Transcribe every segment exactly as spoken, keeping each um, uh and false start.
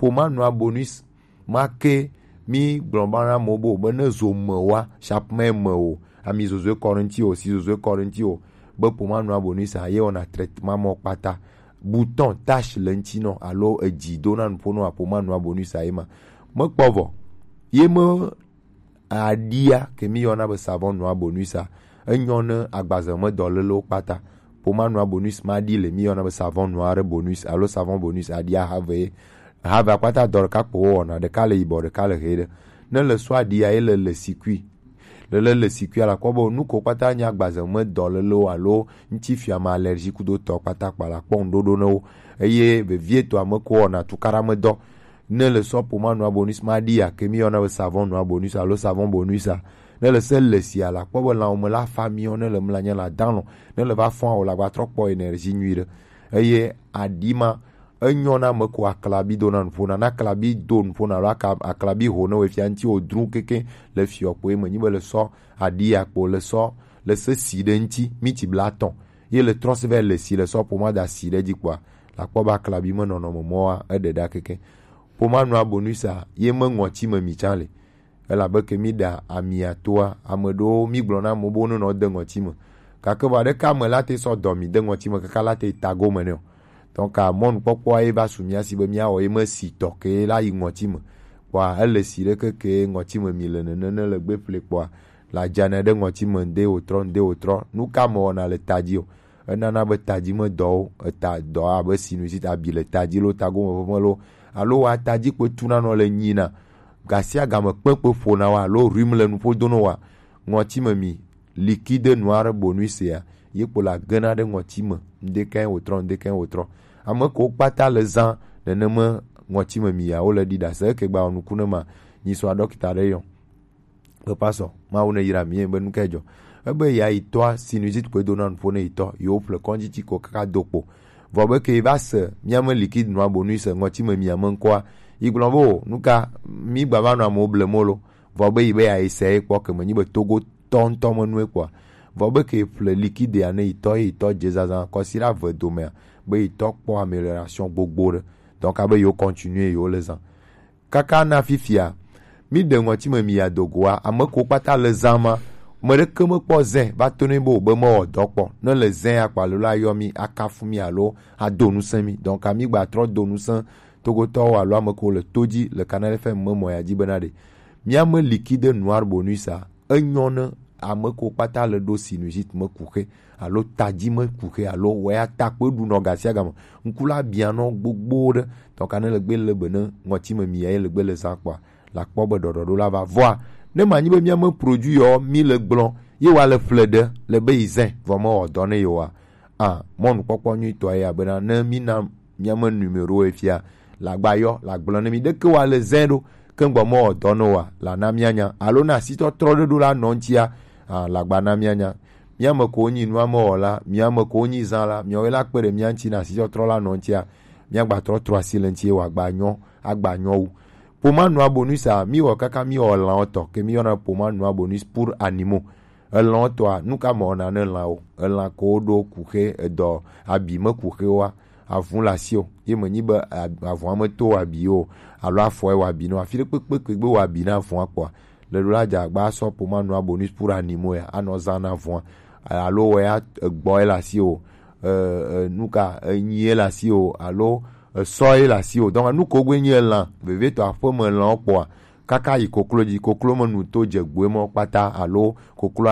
Poma nua bonus ma ke mi gblɔ ba na mo bo be ne zo me wa, chaque me me o, ami zozo kɔ ŋuti o, si zozo kɔ ŋuti o, be poma nua bonus a ye wɔna traitement mɔ kpata. Bouton, tache le ŋuti nɔ alo edzi do na nuƒo nɔ apoma nua bonus a ye ma. Mekpɔ vɔ. Ye me aɖia ke mi yɔna be savon nua bonus a, enyɔ ne agbaze me dɔlélewo kpata. Poma nua bonus ma ɖi le mi yɔna be savon nua ɖe bonus alo savon bonus aɖia have. Have kpata dɔ ɖeka kpo wɔna, ɖeka le yibɔ, ɖeka le ɣe ɖe. Ne le sɔ aɖia ye le le sikui. Le le le sikui a la kpɔ be nu ko kpata nya agbaze me dɔlélewo alo ŋuti fiame allergie kudo tɔ kpata kpa la kpɔ ŋuɖoɖo ne wo. Eye vevietɔ ame ko wɔna tukaɖa me dɔ. Ne le sɔ poma nua bonus ma ɖi ya ke mi yɔna be savon nua bonus alo savon bonus a. Ne le se le si a la kpɔ be lãwo me la fa miɔ ne le mla nya la dalɔ ne le va fɔn o la gba trɔ kpɔ énergie nyui ɖe. Eye aɖi ma enyɔ na ame ko aklabi do na nuƒo na na aklabi do nuƒo na alo aka- aklabi ho ne wo fia ŋuti wo dru keke le fiɔ kpo ye me nyi be le sɔ aɖi ya kpo le sɔ le se si ɖe ŋuti mi ti bla tɔn ye le trɔ se vɛ le si le sɔ poma da si ɖe dzi kpoa la kpɔ be aklabi me nɔnɔme mɔ wa eɖe ɖa keke. Poma nua bonus a ye me ŋɔti me mi tsa le. Elabe ke mi ɖa amia toa, ame ɖewo mi gblɔ na amewo be wonenɔ de ŋɔti me. Gake vɔ aɖeke ame la te sɔ dɔ mi de ŋɔti me kaka la te ta gome nɛ o. Donc a mɔnukpɔkpɔa ye va su mia si be miawɔ ye me si tɔ ke la yi ŋɔti me. Kpɔa ele si ɖeke ke ŋɔti me mi le nene ne le gbe ƒle kpɔa la dzana ɖe ŋɔti me ŋde wòtrɔ ŋde wòtrɔ. Nu ka me wɔna le ta dzi o? Enana be tadzi me dɔwo eta dɔ abe sinusite abi le tadzi lo tagome ʋeʋẽ lo alo wa tadzi kpe tuna nɔ le nyina gasiagame kpekpe ƒona wa alo rhume le nuƒo dono wa ŋɔtime mi liquide noir bonus ya ye kpo la gena ɖe ŋɔtime ŋdekɛ wòtrɔ ŋdekɛ wòtrɔ ame ko kpata le zã neneme ŋɔtime mi ya wo le ɖi ɖase eke gba nuku ne ma nyi sɔ dɔkita ɖe yɔ Papa sɔ, Mawu ne yra mi be nu kae dzɔ. Ebe ya yi tɔa sinusite koe do na nuƒo ne yi tɔ, yewo ƒle kɔndzi tsi ko kaka do kpo. Vɔ be ke va se mía me liquide nua bo nu se ŋɔtsi me mia me ŋkɔa, yi gblɔ be o, nu ka mi gba va nɔ amewo ble mo lo. Vɔ be yi be ya yi se ye kpɔ ke me nyi be Togo tɔ ŋutɔ me nue kpɔa. Vɔ be ke ƒle liquide ya ne yi tɔ ye yi tɔ dze zazã kɔsi ɖe ave domea be yi tɔ kpɔ amélioration gbogbo ɖe. Donc abe yewo continuer yewo le zã. Kaka na fifia, mi ɖe ŋɔtime mi ya do goa, ame ko kpata le zã ma, me ɖeke mekpɔ zẽ va to nɛ be wòbe mewɔ dɔ kpɔ. Ne le zẽ ya kpa lelo ayɔ mi, akafu mi alo ado ŋusẽ mi. Donc ami gba trɔ do ŋusẽ togotɔwo alo ame ko le to dzi le Canal F M me mɔ ya dzi bena ɖe mía me liquide noir bonus a, enyɔ ne ame ko kpata le ɖo sinusite me kuxe alo tadzi me kuxe alo wɛ atakpe ɖu nɔ gasiagame ŋku la bia nɔ gbogbo ɖe tɔka ne le gbe le be ne ŋɔtime mi ye le gbe le zã kpɔa la kpɔ be ɖɔɖɔɖo la va vɔa ne ma nyi be mía me produit yɔ mi le gblɔ ye wa le ƒle ɖe le be yi zẽ vɔ me wɔ dɔ ne yewoa a mɔnukpɔkpɔ nyuitɔ ye abena ne mi na mía me numéro ye fia la gba yɔ la gblɔ ne mi ɖeke wa le zẽ ɖo ke ŋgbɔ mɔ dɔ no wa la na mía nya alo na asitɔtrɔ ɖe ɖo la nɔ ŋtia a la gba na mía nya mía me ko nyi nua me wɔ la mía me ko nyi zã la mía we la kpe ɖe mía ŋti na asitɔtrɔ la nɔ ŋtia mía gba trɔ trɔ asi le ŋti wa gba nyɔ agba nyɔ wu poma nua bonus a mi wɔ kaka mi wɔ lã tɔ ke mi yɔna poma nua bonus pour animaux Elã tɔa, nu ka me wɔna ne lã o? Elã ko woɖo kuxe edɔ abi me kuxe wa, avun le asi o. Ye me nyi be avun me to abi o, alo afɔe wa abi no. Afi ɖe kpekpe ke gbe wa abi na avun kpɔa, le ɖo la dza gba sɔ poma nua bonus pour animaux ya, anɔ zã na avun. Alo wɔ ya egbɔ ye le asi o, e, e, nu ka enyi ye le asi o, alo esɔ ye le asi o. Donc nu ko gbe nyi elã, vevietɔ aƒeme lã kpɔa, kaka yi koklo dzi koklo me nu to dze gbue mɔ kpata alo koklo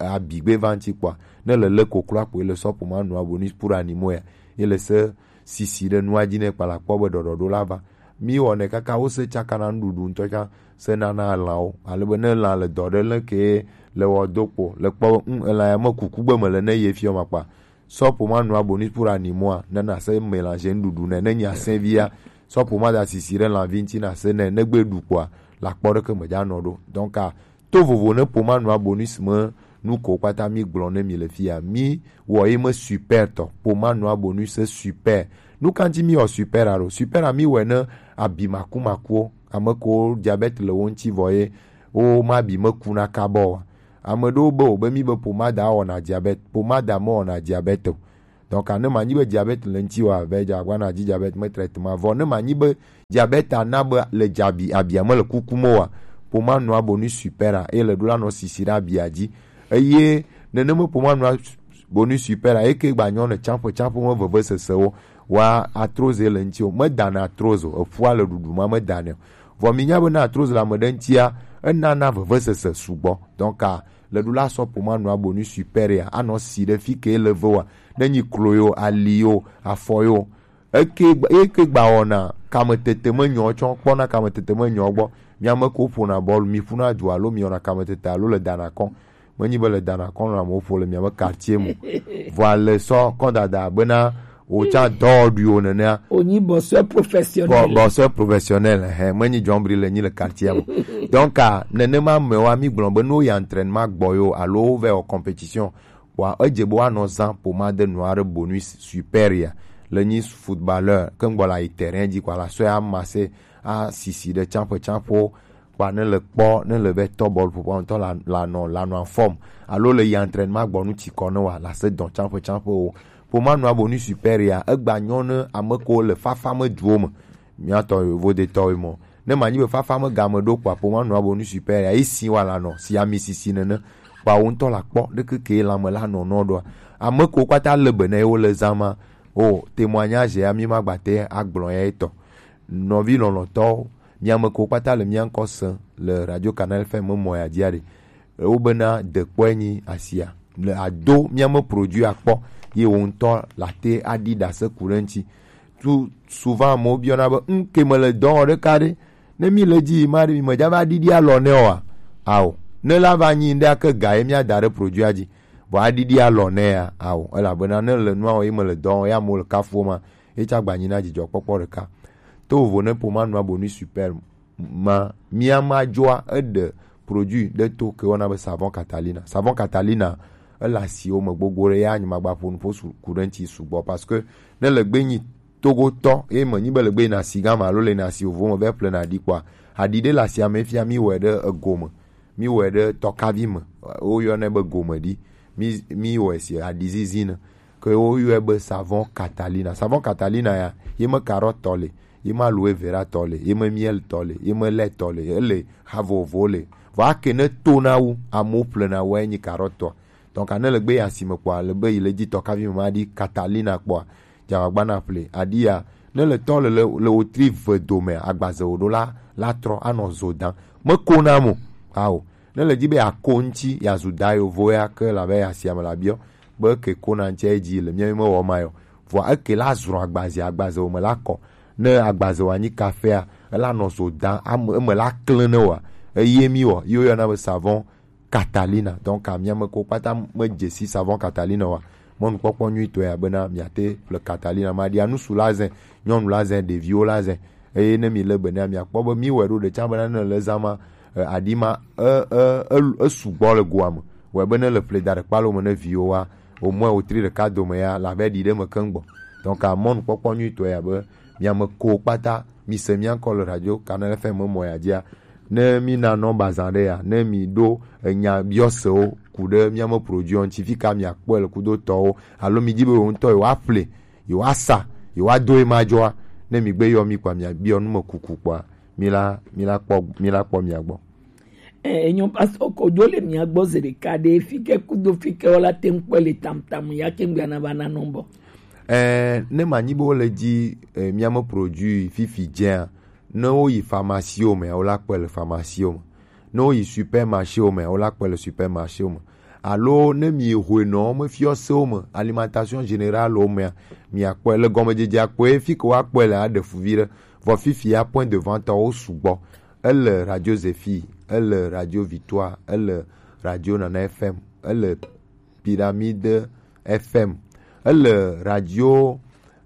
abigbe va ŋti kpɔa ne le le koklo akpoe le sɔ poma nua bo ni pour animaux ya ye le se sisi ɖe nua dzi ne kpala kpɔ be ɖɔɖɔɖo la va mi wɔnɛ kaka wo se tsaka na nuɖuɖu ŋutɔ tsã se nana lãwo ale be ne lã le dɔ ɖe le ke le wɔ do kpo le kpɔ be ŋ elã ya me kuku gbe me le ne ye fiɔ ma kpa Sɔ poma nua bonus pour animaux a, ne na se mélanger nuɖuɖu ne, ne nya sɛvia. Sɔ poma da sisi ɖe lãvi ŋti na se ne, ne gbe ɖu kpɔa, la kpɔ ɖeke me dza nɔ ɖo. Donc a to vovo ne poma nua bonus me nu ko kpata mi gblɔ ne mi le fia. Mi wɔ ye me super tɔ. Poma nua bonus super. Nu ka ŋti mi wɔ super a ɖo? Super a mi wɔ ne abi maku makuwo. Ame ko diabète le wo ŋti vɔ ye wo ma bi me ku na kabɔ wa. Ame ɖewo be wòbe mí be pomada wɔna diabète. Pomada mewɔna diabète o. Donc ne manyi be diabète le ŋti wa, be dza gba na dzi diabète me traitement. Vɔ ne manyi be diabète ana be le dzabi abia me le kuku me wa, poma nua bonu super a, e le ɖo la nɔ sisi ɖe abia dzi. Eye nenema poma nua bonu super a, eke gba nyɔ ne tsampe tsampe me veve sesewo. Wa arthrose le ŋti o, me dana arthrose o, eƒua le ɖuɖu ma me dane o. Vɔ mi nya be na arthrose le ame ɖe ŋtia, enana veve sese sugbɔ. Donc a, le ɖo la sɔ poma nua bonu super a, anɔ si ɖe fi ke le ve wa, ne nyi klo yo, ali yo, afɔ yo. Eke gba- eke gba wɔna kametete me nyɔ tsɔ kpɔna kametete me nyɔ gbɔ. Mi ame ko ƒona bɔlu, mi ƒuna du alo mi wɔna kametete alo le dana kɔn. Menyi be le dana kɔn na mo ƒo le mi ame quartier mo. Vɔ le sɔ kɔn dada bena o tsa dɔ du o nenea. Onyi bosseur professionnel. Bo- bosseur professionnel, hein, menyi jɔnbri le nyi le quartier mo. Donc a, nenema me wa mi gblɔ be no ya entraînement gbɔ yo alo ve o compétition. Wa edze be woanɔ zã pomade nua ɖe bonus super ya le nyi footballeur ke ŋgbɔ la yi terrain dzi kɔ la sɔe amase asisi ɖe tsamƒe tsamƒewo kpa ne le kpɔ ne le be tɔ bɔl ƒoƒo ŋutɔ la la nɔ la nɔ afɔm alo le yi entraînement gbɔ nu tsi kɔ ne wa la se dɔn tsamƒe tsamƒewo. Poma nua bonus super ya egba nyɔ ne ame ko le fafa me duwo me. Miatɔ yovodetɔwoe mɔ. Ne manyi be fafa me game ɖo kpɔ aƒo ma nɔ abo nu super ya esi wa la nɔ si ami sisi nene. Kpɔ wo ŋutɔ la kpɔ ɖeke ke lame la nɔ nɔ ɖoa. Ame ko kpata le be ne wo le zã ma. O témoignage ya mi ma gbate agblɔ ya etɔ. Nɔvi lɔlɔtɔwo, mi ame ko kpata le mia ŋkɔ se le Radio Canal F M mɔ ya dzia ɖe. Wobena dekpɔe nyi asia le ado míame produit akpɔ ye wo ŋutɔ late aɖi ɖase ku ɖe ŋuti. Tu souvent amewo biɔna be ŋke mele dɔ wɔ ɖeka ɖe ne mi le dzi ma ɖe mi medza va ɖiɖi alɔ nɛ oa? Ao, ne la va nyi ŋɖe ake ga ye míada ɖe produit dzi vɔ aɖiɖi alɔ nɛ ya? Ao, elabena ne le nua wɔ ye mele dɔ wɔ ye amewo le kafuo ma ye tsa gba nyi na dzidzɔkpɔkpɔ ɖeka. To vovo ne poma nua bonu super ma mía ma dzɔa eɖe produit ɖe to ke wɔna be savon catalina. Savon catalina ele asiwo me gbogbo ɖe ya nyemagba ƒo nuƒo su ku ɖe ŋuti sugbɔ parce que ne le gbe nyi togotɔ ye me nyi be le gbe yina asi gama alo le yina asi vovo me vɛ ƒle na ɖi kpɔa aɖi ɖe le asia me fia mi wɔe ɖe ego me mi wɔe ɖe tɔkavi me woyɔnɛ be gome ɖi mi mi wɔe si aɖi zizi ne ke woyɔe be savon catalina. Savon catalina ya ye me carotte tɔ le, ye me aloe vera tɔ le, ye me miel tɔ le, ye me lait tɔ le, ele ha vovovowo le. Vɔ ake ne to na wu amewo ƒlena wɔe nyi carotte tɔ. Donc ne le gbe yi asime kpɔa le be yi le dzi tɔkavi me ma ɖi catalina kpɔa dzagbagba na ƒle aɖi ya ne le tɔ le le le wotri ve dome agbaze wo ɖo la la trɔ anɔ zo dam. Me ko na mo. Ao. Ne le dzi be yeako ŋuti yeazu da yovo ya ke labe ye asiame la biɔ be ke kona ŋuti edzi le mía mewɔ ma yɔ vɔa eke la zrɔ agbaze agbaze wo me la kɔ ne agbaze wa nyi kafea ela nɔ zo da ame eme la klẽ ne wa eye mi wɔ yi woyɔna be savon catalina donc amia me ko kpata me dzesi savon catalina wa mɔnukpɔkpɔ nyuitɔe ya bena miate ƒle catalina ma ɖia nusu la zɛ nyɔnu la zɛ ɖeviwo la zɛ eye ne mi le be ne miakpɔ be mi wɔ ɖo ɖe tsã bena ne le zã ma eh, aɖi ma e e e esugbɔ le goa me wɔ be ne le ƒle da ɖe kpalo me ne viwo wa omɔe wotri ɖeka dome ya la be ɖi ɖe me keŋ gbɔ donc amɔnukpɔkpɔ nyuitɔe ya be miame ko kpata mi se mia ŋkɔ le radio Canal F M mɔ ya dzia ne mi na nɔ bazã ɖe ya ne mi ɖo enya biɔsewo ku ɖe miame produit ŋuti fika miakpɔe le kudo tɔwo alo mi di be wo ŋutɔ yewoa ƒle yewoa sa yewoa do ema dzɔa ne mi gbe yɔ mi kpa mia biɔ nu me kuku kpɔa mi la mi la kpɔ mi la kpɔ mia gbɔ. Eh, enyo pastor kodzo le mia gbɔ zi ɖeka ɖe fike kudo fike wala te ŋkpɔ le tamtam ya ke ŋgbia na va na nɔmbɔ. Eh, ne manyi be wole dzi eh, miame produit fifi dzea ne woyi pharmacie me wola kpɔe le pharmacie me ne woyi supermarché me wola kpɔe le supermarché me alo ne mi hoe nɔ me fiɔsewo me alimentation générale wo mea miakpɔe le gɔmedzedzea kpɔe fi ke woakpɔe le aɖe fu vi ɖe vɔ fifia point de vente wo sugbɔ ele radio zephyr ele radio victoire ele radio nana fm ele pyramide fm ele radio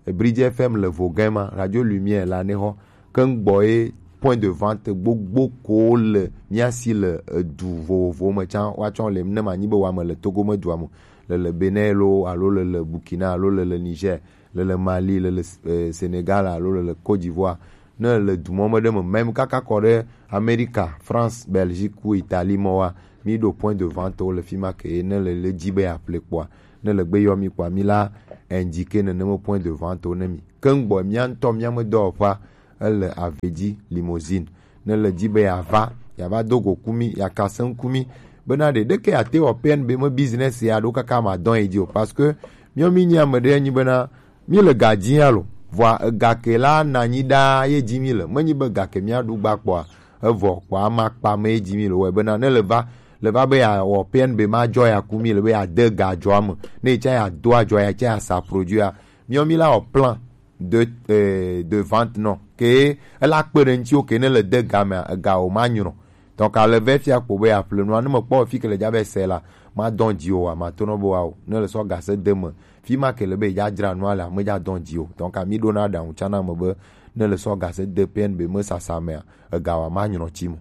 bridge fm le vogɛma radio lumière la ne xɔ keŋgbɔ ye point de vente gbogbo ko le mía si le edu vovovowo me tsã woatsɔ le ne manyi be wame le togo me dua me le le benin lo alo le le burkina alo le le niger le le mali le le eh, senegal alo le le côte d'ivoire ne le du mɔ me ɖe me mɛm kaka kɔ ɖe amerika france belgique ku italie mɔ wa mi ɖo point de vente wo le fi ma ke ne le le dzi be yeaƒle kpɔa Ne le gbe yɔ mi kpɔa, mi la indiquer nenema point de vente wo ne mi. Ke ŋgbɔ mia ŋutɔ mia me dɔwɔƒea, ele Avedzi Limousine. Ne le dzi be yeava, yeava do go ku mi, yeaka se ŋku mi, bena ɖe ɖeke yeate wɔ P N B me business ya ɖo kaka ma dɔn yi dzi o. Parce que miɔ mi nyi ame ɖe nyi bena mi le ga dzi ya lo. Vɔa ega ke la na nyi ɖaa ye dzi mi le. Menyi be ga ke mia ɖu gba kpɔa, evɔ kpɔa ama kpa me ye dzi mi le. Wɔ bena ne le va, le va be ya wɔ P N B ma dzɔ ya ku mi le be ya de ga dzɔa me. Ne yi tsa ya do adzɔ ya tsa ya sa produit ya. Miɔ mi la wɔ plan de, eh, de vente nɔ. Ke ela kpe ɖe ŋuti wo ke ne le de ga mea, ega wo ma nyrɔ. Donc, ale vɛ fia kpo be yeaƒle nua, ne mekpɔ fi ke le dza be se la, madɔn dzi o, amatɔ nɔ be wa o. Ne le sɔ gase de me, fi ma ke le be dza dzra nua le, ame dza dɔn dzi o. Donc, mi ɖo na ɖaŋu tsana me be, ne le sɔ gase de P N B me sasa mea, ega wa ma nyrɔ tsi mo.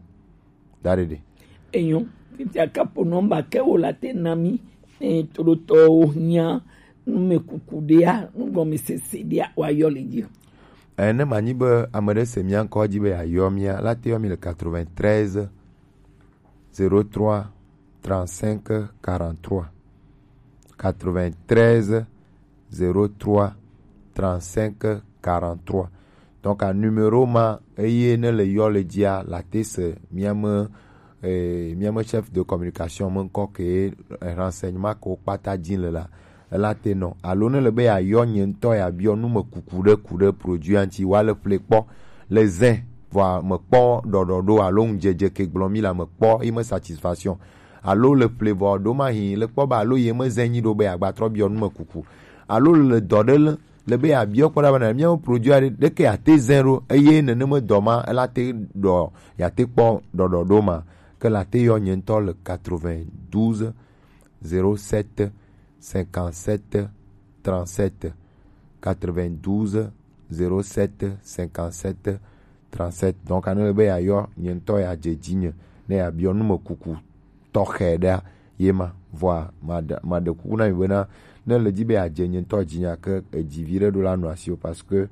Da ɖe ɖe. Enyo, fifia kapo nɔmba ke wo la te na mi, eh, toɖotɔwo nya, numekuku ɖea, nugɔmesese ɖea, wa yɔ le dzi. Eh, ne manyi be ame ɖe se mia ŋkɔ dzi be yeayɔ mia, la te yɔ mi le quatre-vingt-treize, zéro trois, trente-cinq, quarante-trois. Quatre-vingt-treize, zéro trois, trente-cinq, quarante-trois. Donc, a numéro ma, eye ne le yɔ le dzia, la te se mia me, eh, mia me chef de communication me ŋkɔ ke, eh, renseignement ko kpata dzi le la. Ela te nɔ. Alo ne le be yeayɔ nye ŋutɔ yeabiɔ nu me kuku ɖe ku ɖe produit ŋuti, wa le ƒle kpɔ le zẽ, vɔa mekpɔ ɖɔɖɔɖo alo ŋudzedze ke gblɔ mi la mekpɔ yi me satisfaction. Alo le ƒle vɔ ɖo ma hi le kpɔ ba alo ye me zẽ nyi ɖo be yeagba trɔ biɔ nu me kuku. Alo le dɔ ɖe le, le be yeabiɔ kpɔ ɖa be na mía produit aɖe ɖeke yeate zẽ ɖo eye nenema dɔ ma ela te ɖɔ yeate kpɔ ɖɔɖɔɖo ma ke la te yɔ nye ŋutɔ le quatre-vingt-douze, zéro sept, cinquante-sept, trente-sept, quatre-vingt-douze, zéro sept, cinquante-sept, trente-sept. Donc, ane le be yeayɔ nye ŋutɔ yeadze dzinye ne yeabiɔ nu me kuku tɔxɛ ɖea, ye ma. Vɔa, maɖe, maɖe kuku na mi bena, ne le dzi be yeadze nye ŋutɔ dzinye ke edzi vi ɖe ɖo la nɔ asi o, parce que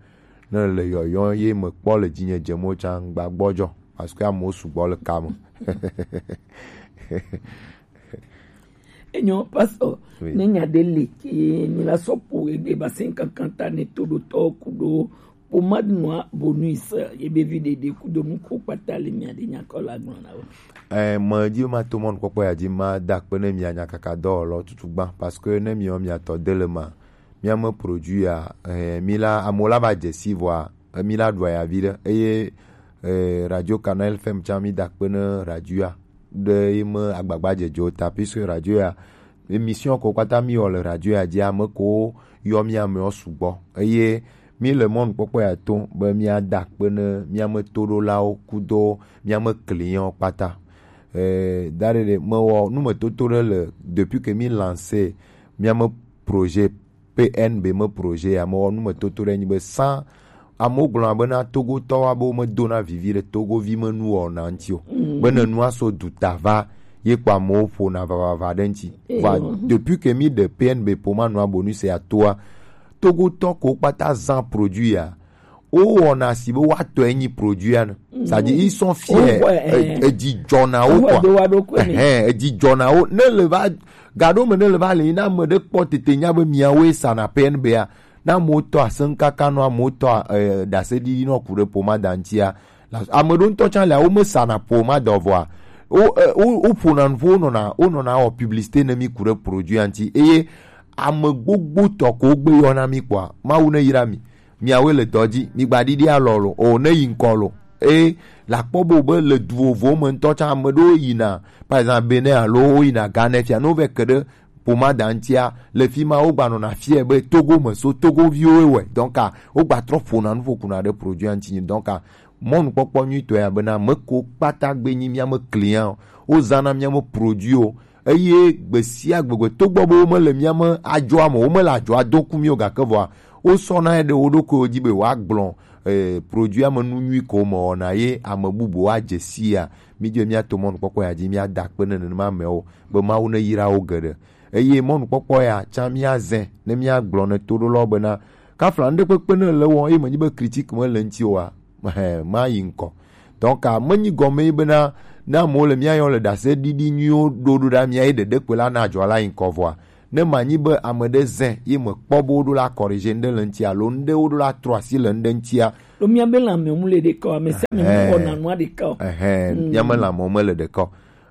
ne le yɔyɔ ye mekpɔ le dzinye dze mo tsã ŋgba gbɔdzɔ, parce que amewo sugbɔ le kame. Enyo, pastor, oui, ne nya ɖe le ke mi la sɔ ƒo egbe ba se kankanta ne to ɖo tɔ ku ɖo pomade noa bonus ye be vi ɖeɖe ku do nu ko kpata le mia ɖe nya kɔ la gblɔ na wo. Eh, me dzi ma to mɔnukpɔkpɔ ya dzi ma da akpe ne mia nya kaka dɔwɔlɔ tutu gbã, parce que ne miɔ mia tɔ de le ma, mia me produit ya, eh, mi la amewo la va dze si vɔa, eh, mi la ɖua ya vi ɖe, eye eh, Radio Canal F M tsã mi da akpe ne radio ya ɖe ye me agbagba dzedze o ta, puisque radio ya, émission ko kpata mi wɔ le radio ya dzi, ame ko yɔ mi amewo sugbɔ, eye mi le mɔnukpɔkpɔ ya to be mia da akpe ne mia me toɖolawo kudo mia me clientwo kpata. Eh, da ɖe ɖe, mewɔ numetoto ɖe le, depuis que mi lancer mia me projet P N B me projet ya, mewɔ numetoto ɖe nyi be sans, amewo gblɔna bena Togotɔwo abe womedona vivi ɖe Togovi me nuwɔna ŋuti o. Mm. Be ne nua so duta va, ye kpɔ amewo ƒona vavava ɖe ŋuti. Eyo. Vɔa, depuis que mi ɖe P N B pomade noa bonus ya toa, Togotɔ ko kpata zã produit ya, wowɔna si be woatɔe nyi produit ya ne. Mm. C'est-à-dire, ils sont fiers. Wowɔe, eh. E-, edzi dzɔna wo kɔ. Wowɔe do wa ɖokui me. Ɛhɛn, edzi dzɔna wo. Ne le va, gaɖo me ne le va le yi, na ame ɖe kpɔ tete nya be miawoe sana P N B a, na amewo tɔ aseŋkaka nɔ, amewo tɔ, eh, ɖaseɖiɖi nɔ ku ɖe pomade ŋutia. La, ame ɖewo ŋutɔ tsã le, womesana pomade o vɔa, wo, eh, wo, woƒona nuƒo, wonɔna, wonɔna wɔ publicité ne mi ku ɖe produit ŋuti. Eye ame gbogbo tɔ ko gbe yɔna mi kpɔa, Mawu ne yra mi. Miawoe le dɔ dzi, migba ɖiɖi alɔ lo, o ne yi ŋkɔ lo. E la kpɔ bo be le du vovovowo me ŋutɔ tsã ame ɖewo yina, par exemple, Benin alo woyina Ghana fia, ne wovɛ ke ɖe pomade ŋutia, le fi ma wogba nɔna fia be Togo me so, Togoviwoe wɔe. Donc, a, wogba trɔ ƒona nu ƒo kuna ɖe produit ŋuti. Donc, a, mɔnukpɔkpɔ nyuitɔ ya bena, ame ko kpata gbe nyi mía me client o, wozãna mía me produit o, eye gbe sia gbe, gbe togbɔ be womele mía me adzɔa me, womele adzɔa do ku mí o, gake vɔa, wosɔna ɖe wo ɖokuiwo dzi be woagblɔ, eh, produit ame nu nyui ko mewɔna ye ame bubu woadze sia. Mídze míato mɔnukpɔkpɔ ya dzi, míada akpe ne nenema amewo be Mawu neyra wo geɖe. Eye mɔnukpɔkpɔ ya tsã míazɛ ne míagblɔ ne toɖolawo bena, kafla ŋɖekpekpe ne le wɔm, eye menyi be critique mele ŋuti oa, Ɛhɛn, mayi ŋkɔ. Donc, a, menyi gɔme ye bena, ne amewo le mía yɔ le ɖaseɖiɖi nyuiwo ɖo ɖo ɖa mía ye ɖeɖekpe la na adzɔ la yi ŋkɔ vɔa, Ne manyi be ame ɖe zẽ ye mekpɔ be woɖo la corriger ŋɖe le ŋuti alo ŋɖe woɖo la trɔ asi le ŋɖe ŋutia. Ɖo míabe lãmewo mu le ɖeka o, ame sia ame mu wɔna nua ɖeka o. Ɛhɛn, míabe lãmewo mele ɖeka o.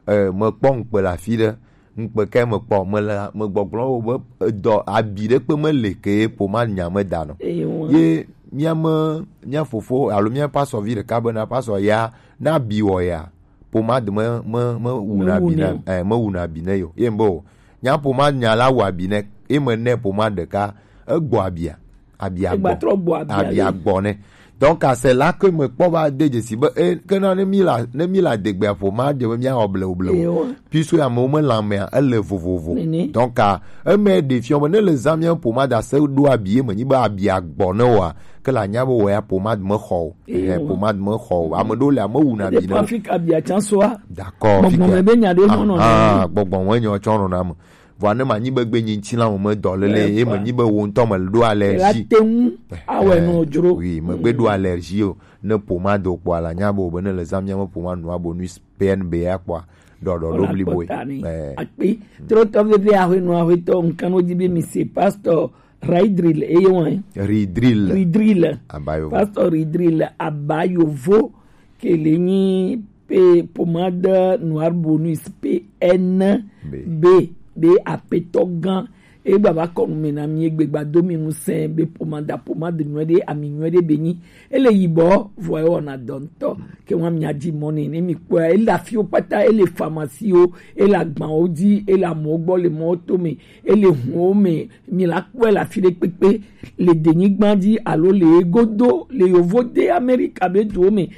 Eh, mekpɔ ŋukpe le afi ɖe, ŋukpe kae mekpɔ? Mele megbɔgblɔ wo be edɔ abi ɖe kpe mele ke pomade nya me da nɔ. Eye wa. Ye míame mía fofo alo mía pastor vi ɖeka bena pastor ya na abi wɔ ya pomade me me me wuna abi ne o. Eh, me wuna abi ne yo. Ye mbe o. Nya pomade nya la wɔ abi ne. Ye me ne pomade ɖeka egbɔ abia. Abia Egba gbɔ. Trɔ gbɔ abia Abia le. Gbɔ ne. Donc à cela que me kpɔ va de dzesi be e ke na ne mi la ne mi la degbea pomade be mía wɔ blewu blewu. Ewa. Puisque amewo me lãmea ele vovovo. Nene. Donc à eme ɖe fiɔ be ne le zã mía pomade ase ɖo abi ye me nyi be abia gbɔ ne wa ke la nya be wɔ ya pomade me xɔ o. Ehe, ewa. Pomade me xɔ o. Ame ɖewo le ame wuna abi ne. Afrika bia can soa. D'accord. Gbɔgbɔ me be nya ɖe nɔ nɔ. Ah, gbɔgbɔ me nya tsɔ nɔ na me. Vɔa ne manyi be gbe nyi ŋutilã me dɔ lele ye menyi be wo ŋutɔ me ɖo allergie. La te ŋu awɔe nɔ dzro. Oui, megbe ɖo allergie o. Ne pomade kpɔ ala nya be o be ne le zã mía me pomade nua bonus P N B ya kpɔa ɖɔɖɔ ɖo blibo. Eh. Akpe. Trotɔ veve ahwe nua hwe tɔ nkan wo di be mi se pastor Raidril eye wan. Ridril. Ridril. Abayovo. Pastor Ridril Abayovo ke le nyi pe pomade noir bonus P N B be apetɔ gã e gbava kɔ nume na mi egbe gba do mi ŋusẽ be pomade pomade nyuie ɖe ami nyuie ɖe be nyi ele yibɔ vɔ ewɔna dɔ ŋutɔ ke ŋua mia di mɔ ne ne mi kpɔa ele afiwo kpata ele pharmacie wo ele agbawo dzi ele amewo gbɔ le mɔwo to me ele huwo me mi la kpɔe le afi ɖe kpekpe le denyigba dzi alo le egodo le yovo de Amerika be duwo me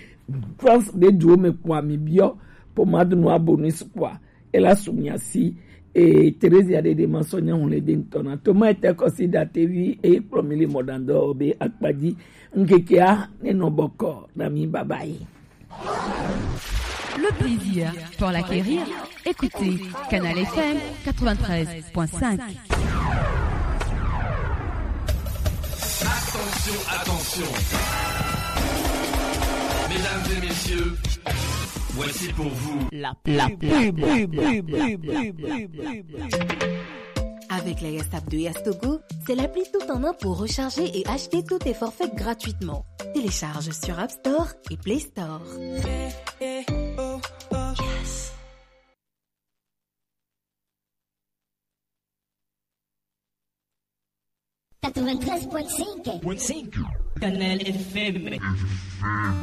France be duwo me kpɔa mi biɔ pomade noir bonus kpɔa ela su mia si. E Theresia ɖeɖe ma sɔ nyahu le de ŋutɔ na to ma ete kɔsi da tevi e kplɔ mi le mɔɖaŋdɔ be akpadzi ŋkekea ne nɔ bɔkɔ na mi babayi. Le plaisir pour l'acquérir, écoutez Canal F M quatre-vingt-treize point cinq. Attention, attention. Mesdames et messieurs, voici pour vous la, la pub. Avec la Yas App de Yastogo, c'est l'appli tout en un pour recharger et acheter tous tes forfaits gratuitement. Télécharge sur App Store et Play Store. Quatre-vingt-treize point cinq. Canal F M.